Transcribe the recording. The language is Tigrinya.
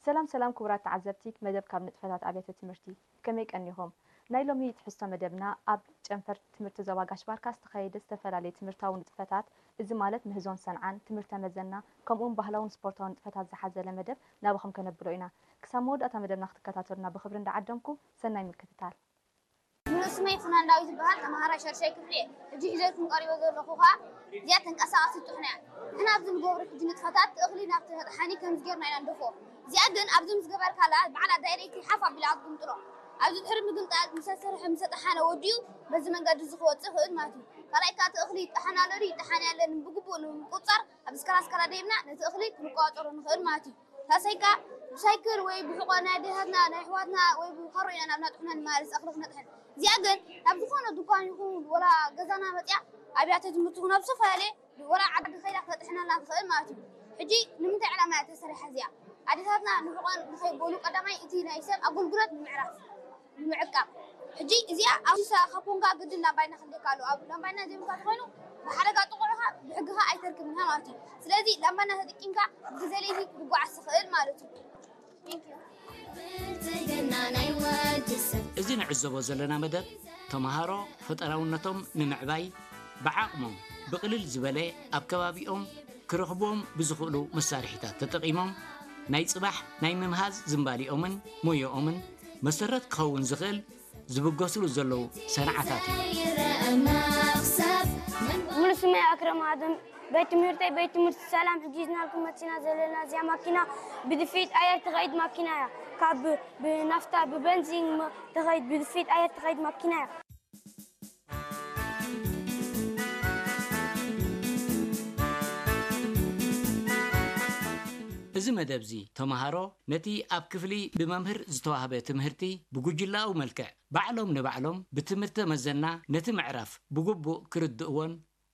ሰላም ሰላም ክቡራት ተዓዘብቲ መደብ ካብ ንጥፈታት ኣብያተ ትምህርቲ፣ ከመይ ቀኒኹም? ናይ ሎሚ ትሕዝቶ መደብና ኣብ ጨንፈር ትምህርቲ ዞባ ጋሽ ባርካ ዝተኻየደ ዝተፈላለየ ትምህርታዊ ንጥፈታት፣ እዚ ማለት ምህዞን ሰንዓን፣ ትምህርተ መዘና፣ ከምኡውን ባህላውን ስፖርታውን ንጥፈታት ዝሓዘለ መደብ ናባኹም ከነብሎ ኢና። ክሳብ መወዳእታ መደብና ክትከታተሉና ብኽብሪ እንዳዓደምኩ፣ ሰናይ ምክትታል። ሙሉእ ስመይ ፍናን ዳዊት ይበሃል። ተመሃራይ ሻድሻይ ክፍሊ እየ። ሕጂ ሒዘልኩም ቀሪበ ዘለኹ ኸኣ እዚኣ ተንቀሳቓሲት ጥሕኖ እያ። ንሕና ኣብዚ ንገብሮ ሕጂ ንጥፈታት እቲ እኽሊ ናብቲ መጥሓኒ ከምዚ ጌርና ኢና ንደፍኦ። እዚኣ ግን ኣብዚ ምስ ገበርካላ ባዕላ ዳይሬክት ሓፍ ኣቢላ ክትግምጥሎ። ኣብዚ ድሕሪ ምግምጣል ምስ ኣሰርሐ ምስ ኣጠሓነ ወዲኡ በዚ መንገዲ እዚ ክወጽእ ይኽእል ማለት እዩ። ካልኣይ ከኣ እቲ እኽሊ ይጠሓን ኣሎ ድዩ ይጠሓን የለን ብግቡእ ንምቁጽጻር ኣብዚ ስካላ ስካላ ደይብና ነቲ እኽሊ ክንቆጻጸሮ ንኽእል ማለት እዩ። ሳልሳይ ከኣ ብሳይክል ወይ ብሕቖ ናይ ኣዴታትና ናይ ኣሕዋትና ወይ ብኻሮ ኢና ናብ ናጥሕና ንመላለስ እኽሊ ክነጥሕን። እዚኣ ግን ናብ ዝኾነ ድኳን ይኹን ወላ ገዛና መጽያ ኣብያተ ትምህርቲ ይኹን ኣብ ዝተፈላለየ ወላ ዓዲ ከይዳ ክተጥሕነልና ትኽእል ማለት እዩ። ሕጂ ንምንታይ ዕላማ እያ ተሰሪሓ እዚኣ? ኣዴታትና ንሕቖን ንኸይበሉ ቀዳማይ እቲ ናይ ሰብ ኣገልግሎት ንምዕራፍ ንምዕቃብ። ሕጂ እዚኣ ኣብ ሳ ካብ ኮንካ ግድን ላምባይና ክልካ ኣሎ። ኣብ ላምባይና ዘይብልካ ተኾይኑ ብሓደጋ ጥቑዑኻ ብሕግኻ ኣይተርክብን ኢኻ ማለት እዩ። ስለዚ ላምባይና ተጠቂምካ ብግዜ ለይቲ ክትጓዓዝ ትኽእል ማለት እዩ። Thank you። እዚ ንዕዘቦ ዘለና መደብ ተምሃሮ ፈጠራውነቶም ንምዕባይ ብዓቕሞም ብቕልል ዝበለ ኣብ ከባቢኦም ክረኽብዎም ብዝኽእሉ መሳርሒታት ተጠቒሞም ናይ ጽባሕ ናይ ምምሃዝ ዝንባሊኦምን ሞዮኦምን መሰረት ክኸውን ዝኽእል ዝብገስሉ ዘለዉ ሰንዓታት እዩ። ሙሉ ስመይ ኣክረም ኣደም። ቤት ትምህርተይ ቤት ትምህርቲ ሰላም። ሕጂ ዝናልኩም መፂና ዘለና እዚኣ ማኪና ብድፊት ኣየር ትኸይድ ማኪና እያ። ካብ ብናፍታ ብበንዚን ትኸይድ ብድፊት ኣየር ትኸይድ ማኪና እያ። እዚ መደብ እዚ ተምሃሮ ነቲ ኣብ ክፍሊ ብመምህር ዝተዋህበ ትምህርቲ ብጉጅላዊ መልክዕ ባዕሎም ንባዕሎም ብትምህርተ መዘና ነቲ ምዕራፍ ብግቡእ ክርድእዎን